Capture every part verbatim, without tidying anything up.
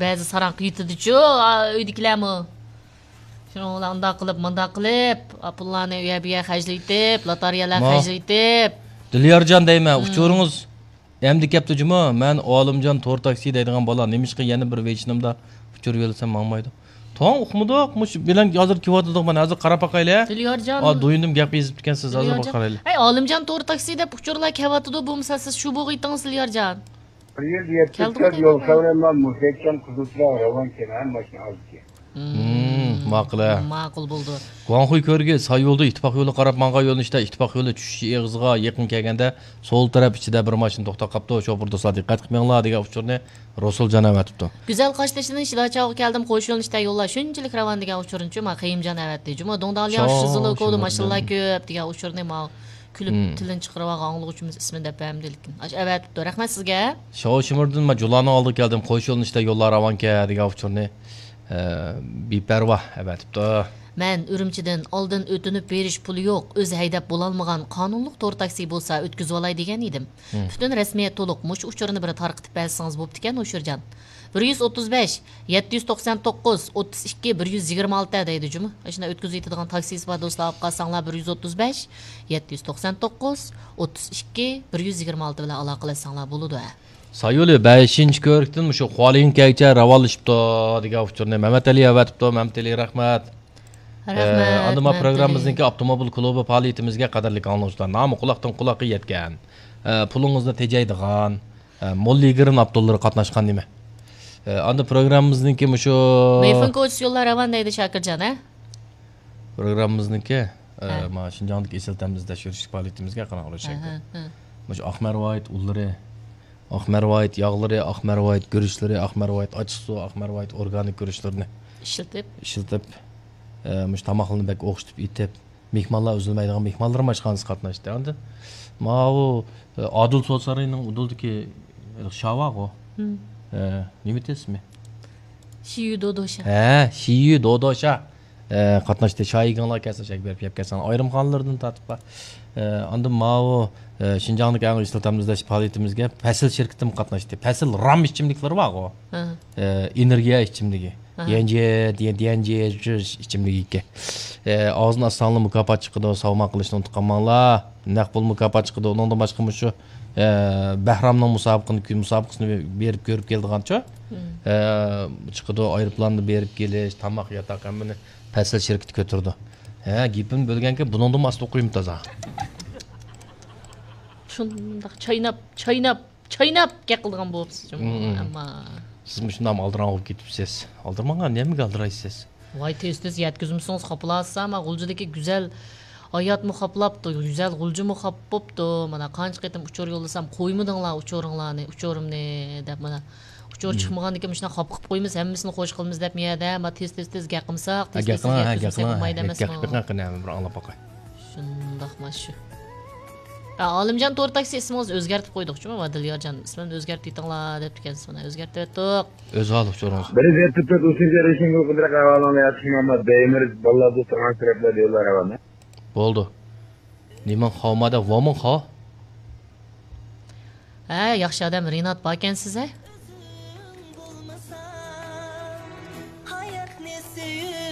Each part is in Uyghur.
بەزى ساراڭ قېتىدىچۇ، ئا، ئۆيدىكىلەرمۇ. شۇنىڭ بىلەن ئۇنداق قىلىپ، مۇنداق قىلىپ، ئا، پۇللارنى ئۇ يەر بۇ يەر خەجلىتىپ، لاتارىيەلەر ما- خەجلىتىپ. دىليارجان دەيمەن، مم. ئۇچۇرىڭىز ئەمدى كەپتۇ جۇمۇ. مەن ئالىمجان تور تاكسى دەيدىغان بالا. نېمىشقا يەنە بىر ۋېيچىنىمدا ئۇچۇر يوللىسام ماڭمايدۇ؟ توڭ ئۇقمىدۇق. مۇشۇ بىلەن ھازىر كېلىۋاتىدۇق. مانا ھازىر قاراپ باقايلى. دىليارجان. ئا، دويۇندۇم گەپ يېزىپتىكەنسىز. ھازىر دىليارجان. باقايلى. ئەي، ئالىمجان تور تاكسى دەپ ئۇچۇرلار كېلىۋاتىدۇ. بولمىسا سىز شۇ بوغۇيتىڭىز، دىليارجان. بىر يۈز يەتمىش تۆت يول سەۋرەن مەن مۇسەككەن قىزىلچىراغ راۋان كەن ھەم ماشىنا ئالدىكى. مم، ماقۇل، ھە. ماقۇل بولدى. گۇاڭخۇي كۆۋرۈكى ساي يولدا ئىتتىپاق يولى قاراپ ماڭغان يۆنىلىشتە ئىتتىپاق يولى چۈشۈش ئېغىزىغا يېقىن كەلگەندە سول تەرەپ ئىچىدە بىر ماشىنا توختاپ قاپتۇ. شوپۇر دوستلار دىققەت قىلىڭلار دېگەن ئۇچۇرنى رۇسۇلجان ئەۋەتىپتۇ. گۈزەل قاشتېشىدىن شىداچاۋغا كەلدىم، قوش يۆنىلىشتە يوللار شۇنچىلىك راۋان دېگەن ئۇچۇرنىچۇ ما قېيۇمجان ئەۋەتتى. جۇمۇ دۇڭداڭلياڭ شۇ، شىزىلوكودا شۇ، ماشىنىلار شۇ. كۆپ دېگەن ئۇچۇرنى ما كۈلۈپ مم. تىلىنى چىقىرىۋالغان ئاڭلىغۇچىمىز ئىسمىنى دەپ بەرمىدى، لېكىن ئاشۇ ئەۋەتىپتۇ. رەھمەت سىزگە. شاۋشىمىردىن ما جۇلانىڭ ئالدىغا كەلدىم، قوش يۆنىلىشتە يوللار راۋانكەن دېگەن ئۇچۇرنى، ئە، بىپەرۋا ئەۋەتىپتۇ. مەن ئۈرۈمچىدىن ئالدىن ئۆتۈنۈپ بېرىش پۇلى يوق، ئۆزى ھەيدەپ بولالمىغان قانۇنلۇق تور تاكسى بولسا ئۆتكۈزۈۋالاي دېگەن ئىدىم. مم. پۈتۈن رەسمىيەت تولۇق، مۇشۇ ئۇچۇرنى بىر تارقىتىپ بەرسىڭىز بوپتىكەن، ھوشۇرجان. بىر يۈز ئوتتۇز بەش، يەتتە يۈز توقسان توققۇز، ئوتتۇز ئىككى، بىر يۈز يىگىرمە ئالتە دەيدۇ جۇمۇ. ئاشۇنداق ئۆتكۈزۈۋېتىدىغان تاكسىسى بار دوستلار ئاپ قالساڭلار، بىر يۈز ئوتتۇز بەش، يەتتە يۈز توقسان توققۇز، ئوتتۇز ئىككى، بىر يۈز يىگىرمە ئالتە بىلەن ئالاقىلەشسەڭلار بولىدۇ، ھە. سايولى بەشىنچى كۆۋرۈكتىن مۇشۇ خۇالىيىنكەگىچە راۋانلىشىپتۇ دېگەن ئۇچۇرنى مەمەتئەلى ئەۋەتىپتۇ. مەمەتئەلى، رەھمەت. رەھمەت، ئە، ئاندىن ما مەمەتئەلى. پروگراممىمىزنىڭكى ئاپتوموبىل كۇلۇبى پائالىيىتىمىزگە قەدەرلىك ئاڭلىغۇچىلار، نامى قۇلاقتىن قۇلاققا يەتكەن، ئە، پۇلىڭىزنى تېجەيدىغان، ئە، موللا يىگىرىن ئاپتونلىرى قاتناشقان نېمە؟ ئە، ئاندىن پروگراممىمىزنىڭكى مۇشۇ مېيفېن كوچىسى يوللار راۋان دەيدۇ شاكىرجان، ھە؟ پروگراممىمىزنىڭكى، ئە، ھە. ما شىنجاڭدىكى ئېسىل تەمىزلەش يۈرۈشلۈك پائالىيىتىمىزگە قاراڭلار، ھە، شاكىر. ھە، ھە. مۇشۇ ئاق مەرۋايىت ئۇنلىرى، ئاق مەرۋايىت ياغلىرى، ئاق مەرۋايىت گۈرۈچلىرى، ئاق مەرۋايىت ئاچچىقسۇ، ئاق مەرۋايىت ئورگانىك گۈرۈچلىرىنى ئىشلىتىپ. ئىشلىتىپ، ئە، مۇشۇ تاماقلىرىنى بەك ئوخشىتىپ ئېتىپ، مېھمانلار ئۈزۈلمەيدىغان مېھمانلىرىمۇ ئاشخانىسىغا قاتناشتى. ئاندىن ماۋۇ، ئە، ئادىل سودا سارىيىنىڭ ئۇدۇلدىكى شاۋاغۇ. مم. ئە، نېمە ئىدى ئىسمى؟ شىيۈ دودوشا. ھە، شىيۈ دودوشا. ئە، قاتناشتى. شايىگىڭلار كەلسە، شەيگە بېرىپ يەپ كەلسەڭ. ئايرىم خانىلىرىدىن تارتىپ بار. ئە، ئاندىن ماۋۇ، ئە، شىنجاڭدىكى ئەڭ ئېسىل تەمىزلەش پائالىيىتىمىزگە پەسىل شىركىتىمۇ قاتناشتى. پەسىل رام ئىچىملىكلىرى بارغۇ. ھە. ئە، ئېنېرگىيە ئىچىملىكى. ھە. ديەنجيې، ديەن-، ديەنجيې جۈز ئىچىملىكى ئىكەن. ئە، ئاغزىنى ئاچساڭلار مۇكاپات چىقىدۇ، ساۋمال قىلىشنى ئۇنتۇپ قالماڭلار. نەق پۇل مۇكاپات چىقىدۇ. ئۇنىڭدىن باشقا مۇشۇ، ئە، بەھرامنىڭ مۇسابىقىنى، مۇسابىقىسىنى بېرىپ كۆرۈپ كېلىدىغانچۇ؟ مم. ئە، چىقىدۇ، ئايروپىلاندا بېرىپ كېلىش، تاماق، ياتاق ھەممىنى پەسىل شىركىتى كۆتۈرىدۇ. ھە، گېپىمنى بۆلگەنكەن، بۇنىڭدىنمۇ ئاستا ئوقۇيمۇ تازا؟ شۇنداق چايناپ، چايناپ، چايناپ گەپ قىلىدىغان بولۇپسىز جۇمۇ، مم. ئەمما. سىز مۇشۇنداق ئالدىراڭ بولۇپ كېتىپسىز. ئالدىرىماڭ، نېمىگە ئالدىرايسىز؟ ۋاي، تېز-تېز يەتكۈزمىسىڭىز خاپىلاسىز، ئەمما غۇلجىدىكى گۈزەل ھاياتمۇ خاپىلاپتۇ، گۈزەل غۇلجىمۇ خاپا بوپتۇ. مانا قانچە قېتىم ئۇچۇر يوللىسام، قويمىدىڭلار ئۇچۇرۇڭلارنى، ئچۇرۇمنى دەپ، مانا ئۇچۇر مم. چىقمىغاندىكىن مۇشۇنداق خاپا قىلىپ قويىمىز، ھەممىسىنى خوش قىلىمىز دەپ يەردە، ما تېز-تېز-تېز گەپ قىلمىساق، ھە، تېز-تېز گەپ قىلىڭ، ھە، يەتكۈزمىسەك بولمايدۇ ئەمەسمۇ؟ گەپ قىلىڭ، قېنى، بىر ئاڭلاپ باقاي. شۇنداقما شۇ. ھە، ئالىمجان تور تاكسى ئىسمىڭىزنى ئۆزگەرتىپ قويدۇق جۇمۇ، دىليارجان ئىسمىنى ئۆزگەرتىۋېتىڭلار دەپتىكەنسىز، مانا ئۆزگەرتىۋەتتۇق. ئۆز ھالى ئۇچۇرىڭىز. بىر يۈز يەتتە تۆت ئۈچىنچى رېشىڭ گۇلقىدىرەك ئەھۋالىڭنى ياخشى مۇھەممەد دەيمىر باللا دوستۇڭ تەرەپلەردە يوللار ئەۋەلنى. بولدى. نېمىڭ خاۋمادا ۋومىڭ خاۋ؟ ھە، ياخشى ئادەم رىنات باركەنسىز ھە؟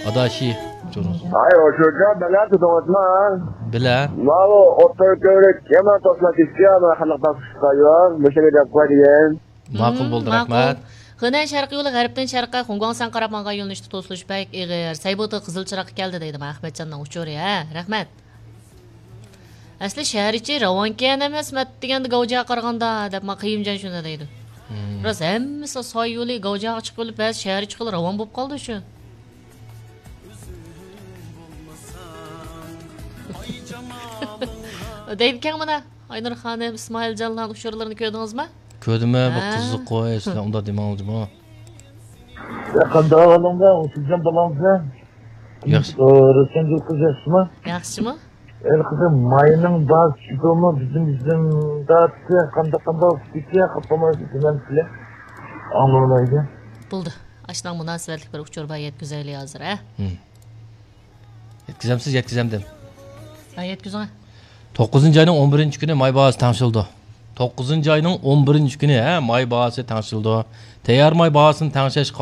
ئاداشى، جۇرۇڭ. ھاي، ئوشۇرجان، بەلە تۇتۇڭىزما؟ بىلە. ماۋۇ ئوتتۇرا كۆۋرۈك يامان توسما كېتىپتۇ، مانا قانداق تاپشۇرۇشقا يوق، مۇشۇ گەپ قوي دېگەن. ماقۇل بولدى، مم، ماقۇل. رەھمەت. خېنەن شەرقىي يولى غەربتىن شەرققە خۇڭگۇاڭسەن قاراپ ماڭغان يۆنىلىشتە توسۇلۇش بەك ئېغىر. سەيبۇتى قىزىل چىراغقا كەلدى دەيدۇ، مانا ئەخمەتجاننىڭ ئۇچۇرى، ھە، رەھمەت. ئەسلى شەھەر ئىچى راۋانكەن ئەمەس، مەت دېگەندە گاۋجاغا قارىغاندا، دەپ ما قېيۇمجان شۇنداق دەيدۇ. مم. راست، ھەممىسى ساي يولى، گاۋجاغا چىقىۋېلىپ، بەزى شەھەر ئىچى قىلىپ راۋان بولۇپ قالدى شۇ. دەيدىكەن مانا، ئاينۇر خانىم، ئىسمائىلجانلارنىڭ ئۇچۇرلىرىنى كۆردىڭىزما؟ كۆردۈم، بۇ ھە. قىزىق قوي، سىلەر ئۇنداق دېمەڭلار جۇمۇ. يا، قانداق ئەھۋالىڭلار، ئۇسۇلجان بالاڭلار؟ ياخشى. ئى، رۇسەنگۈل قىز ياخشىمۇ؟ ياخشىمۇ؟ ئەي قىزىم، ماينىڭ باھاسى چۈشۈپمۇ؟ بىزنىڭ، بىزنىڭ داتىسى قانداق، قانداق بولۇپ كېتىدۇ، خاپا بولمايسىز، دېمەمسىلەر؟ ئاڭلىمايدۇ. بولدى. ئاشۇنىڭ مۇناسىۋەتلىك بىر ئۇچۇر بار، يەتكۈزەيلى ھازىر، ھە؟ ھىم. يەتكۈزەمسىز؟ يەتكۈزەمدىم. ھە، يەتكۈزۈڭ. توققۇزىنچى ئاينىڭ ئون بىرىنچى كۈنى ماي باھاسى تەڭشىلىدۇ. توققۇزىنچى ئاينىڭ ئون بىرىنچى كۈنى، ھە، ماي باھاسى تەڭشىلىدۇ. تەييار ماي باھاسىنى تەڭشەش